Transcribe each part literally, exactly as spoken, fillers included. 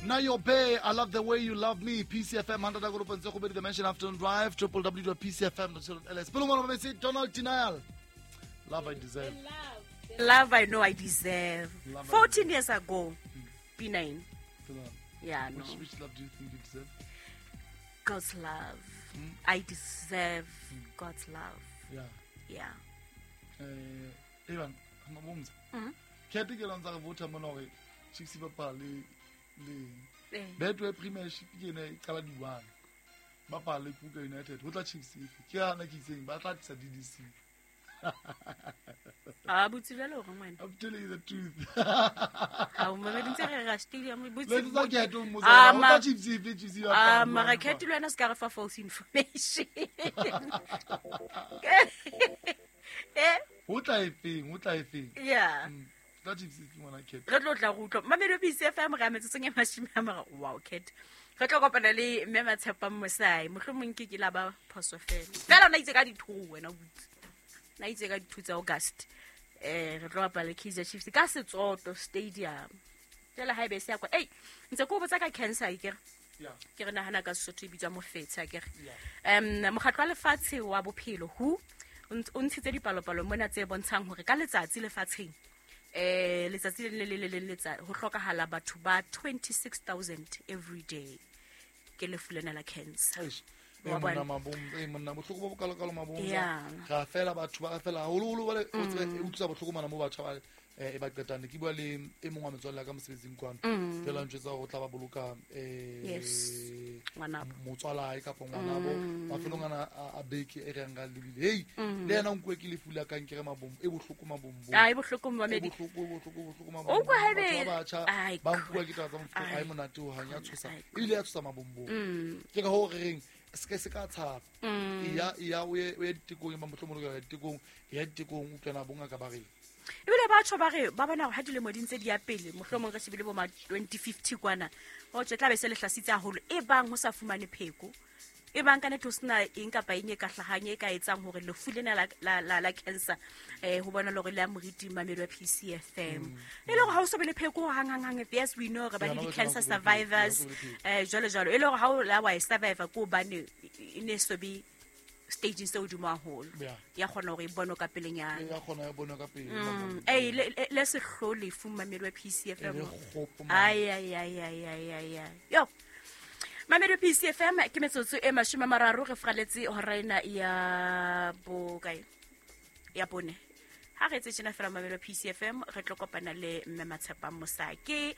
Now Bay, I love the way you love me. P C F M one hundred point seven The Mention Afternoon Drive, w w w dot p c f m dot co dot l s. Donald Denial. Love I deserve. Love, love I know I deserve. Love fourteen I years ago, mm. P nine. Yeah, no. Which, which love do you think you deserve? God's love. Mm? I deserve mm. God's love. Yeah. Yeah. Eh, Ivan, mabumza. Mhm. Ke ke lantsa re vota mona hore Chiefs ba bapale le Eh. Betway Premiership ke ene e qala di one. Ba bapale Kruger United. Ho tla Chiefs efe? Ke hana ke itseng ba tla tlisa D D C. Ah, botse jwale hore ngwana. I'm telling you the truth. Ha o mamedi ntse re ra stadium botse. Le tsa ke ato mo Ah, tsela. Ho ma- tla Chiefs efe Chiefs ba Ah, bapala mara jwang? Cat le wena se ka re fa false information. Eh? Ho tla efeng? Ho tla efeng? Yeah. Mm. Tla Chiefs efe ngwana Cat? Re tlo tla re utlwa. Mamedi P C F M re a metsotsong e mashome a mararo. Wow, Cat. Re tlo kopana le mme Matshepang Mosai. Mohlomong ke ke la ba phoso fela. Fela o na itse ka dithuo wena butse. Na itse ka dithuo tsa August. Eh, re tlo bapala le Kaizer Chiefs ka Setsoto Stadium. Jwale ha ebe se ya kwa. Ei, ntse ke o botsa ka cancer akere? Yeah. Ke re nahana ka Sesotho e bitswa mofetshe akere? Yeah. Em, mokgatlo wa lefatshe wa bophelo W H O o nt-, o ntshitse dipalopalo mona tse bontshang hore ka letsatsi lefatsheng, eh, letsatsi le le le le le ho hlokahala batho ba twenty-six thousand every day ke lefu lena la cancer. Eish. Wa Eh, monna bona. Mabombo, eh, monna, bohloko bo bokalokalo Mabombo. Yeah. Ra fela batho ba fela haholoholo ba le, o tsebe, Mm. e utlwisa bohloko mona mo batjha ba, eh, e ba qetang. Ne ke bua le e mong wa metswalle ya ka mosebetsing kwano. Mm. Jwale a ntjwetsa hore o tla ba boloka, eh, Yes. Ngwanabo. motswalae kapa ngwanabo. Mm. Mafelong ana a, a beke e re yang ka lebile. Hei, Mm. le yena o nkuwe ke lefu la kankere Mabombo, e bohloko Mabombo. Ah, e bohloko E mamedi. bohloko, e bohloko, e bohloko O Mabombo. utlwa haebe Batho ba batjha Ai, ba nkuwa ke taba tsa mofuta, Ai, ha e monate ho hang, ya tshosa. ai, Ebile ya tshosa Mabombo. Mm. Ke ka hoo re reng, se ke se ka tshaba. Mm. Eya, eya, o ye, o ye ditekong, empa mohlomong o lokela ho ya ditekong, eya ditekong, o utlwe na bongaka ba reng. Ebile batho ba re, ba bona hore ha dilemo di ntse di ya pele, mohlomong re shebile bo ma twenty fifty kwana, ho tjhe, tla be se le hlasitse haholo, e bang ho sa fumane pheko, e bang ka nnete ho sena eng kapa eng e ka hlahang e ka etsang hore lefu lena la, la, la, la cancer, eh, ho bona le hore le ya moriti mamedi wa P C F M. Mm. E le hore ha o so be le pheko hang, hang, hang, yes, we know re ba le Yeah, di-cancer no, no, no, no, no, survivors, no, no, no, no. eh, jwalo, jwalo. E le hore ha o la wa e survivor ke hobane e ne so be staging se hodimo haholo. Yeah. Ya kgona hore e bonwe ka pelenyana. Ya kgona e bonwe ka pele, Mm. Mabombo. Ei, le, le, le sehloho lefu mamedi wa P C F M. E le kgopo, man. Ai, ai, ai, ai, ai, ai, ai. Yo. Mamedi wa P C F M, ke metsotso e mashome a mararo re fraletse hora ena ya bokae? Ya bone. Ha re etse tjena fela mamedi wa P C F M, re tlo kopana le mme Matshepang Mosai. Ke,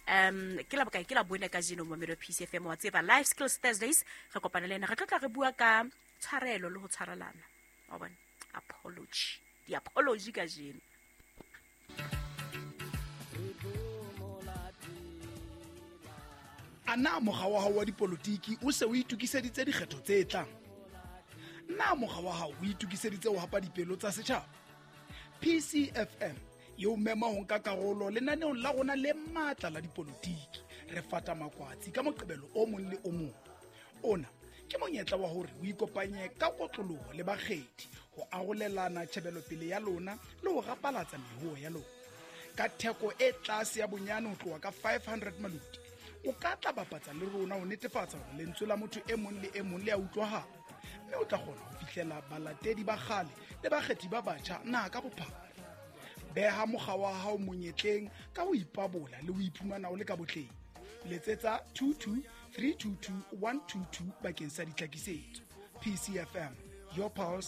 um, ke la bokae? Ke la bone kajeno mamedi wa P C F M wa tseba Life Skills Thursdays, re kopana le ena. Re tlo tla re bua ka tshwarelo le ho tshwarelana. Wa bona? Apology. Di-apology kajeno. A na mokga wa hao wa dipolotiki o se o itokiseditse dikgetho tse tlang? Na mokga wa hao o itokiseditse ho hapa dipelo tsa setjhaba? P C F M e o mema ho nka karolo lenaneong la rona le matla la dipolotiki. Re fata makwatsi ka Moqebelo o mong le o mong. Ona ke monyetla wa hore o ikopanye ka kotloloho le bakgethi ho arolelana tjhebelopele ya lona le ho rapalatsa mehuo ya lona. Ka theko e tlase ya bonyane ho tloha ka five hundred maluti, o ka tla bapatsa le rona ho netefatsa hore lentswe la motho e mong le e mong le a utlwahala, mme o tla kgona ho fihlela balatedi ba kgale le bakgethi ba batjha naha ka bophara. Beha mokga wa hao monyetleng ka ho ipabola le ho iphumana o le ka botleng. Letsetsa two two three two two one two two bakeng sa ditlhakisetso. P C F M, your pulse,